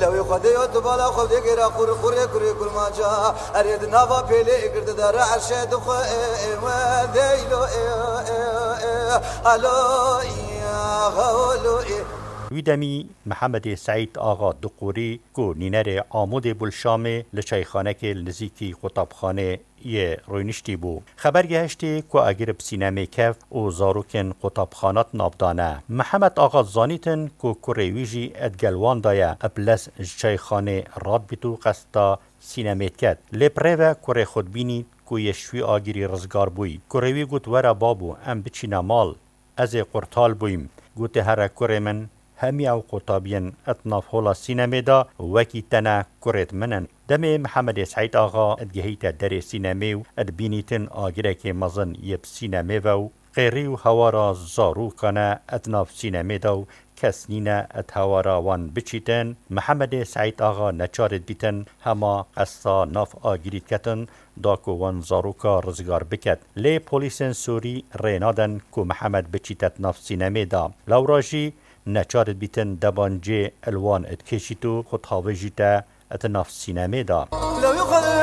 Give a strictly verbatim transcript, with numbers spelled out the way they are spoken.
Ew ê xwedê yo tu bala xwe digêra qur qurê kurê kurmanca. Erê di nava pêlê girdi de re erşe dixwe ê ê we deylo ê ê ê alo ê xawlo ê. Wî demî Mihemedê Seîd Axa Duqûrî ku nînerê Amûdê bû li Şamê li çayxanekê li nizîkî qutabxanê yê rûniştî bû. Xeber gehiştî ku agir bi sînemê keft û zarokên qutabxana di nav de ne. Mihemed Axa zanîtin ku kurê wî jî di gel wan de ye, bi lez ji çayxanê radbît û qesta sînemê diket. Lê bi rê ve kurê xwe dibînî ku yê ji wî agirî rizgar bûyî. Kurê wî got, "Were babû, em biçîne mal. Ez ê qurtal bûyim." Gote, "Here kurê min, hemî ew qutabiyên di nav hola sînemê de wekî te ne, kurêd min in." Demê Mihemedê Seîd Axa digihîte derê sînemê û dibînîtin agirekê mezin yê bi sînemê ve û qêrî û hewara zarokan e di nav sînemê de û kes nîne di hewara wan biçîtin. Mihemedê Seîd Axa neçar dibîtin hema qesta nav agirî diketin da ku wan zaroka rizgar biket. Lê polîsên Sûrî rê nadin ku Mihemed biçîte di nav sînemê de. Lewra jî neçar dibîtin debancê li wan dikêşît û xwe dihavêjîte di nav sînemê de. Lewî xwe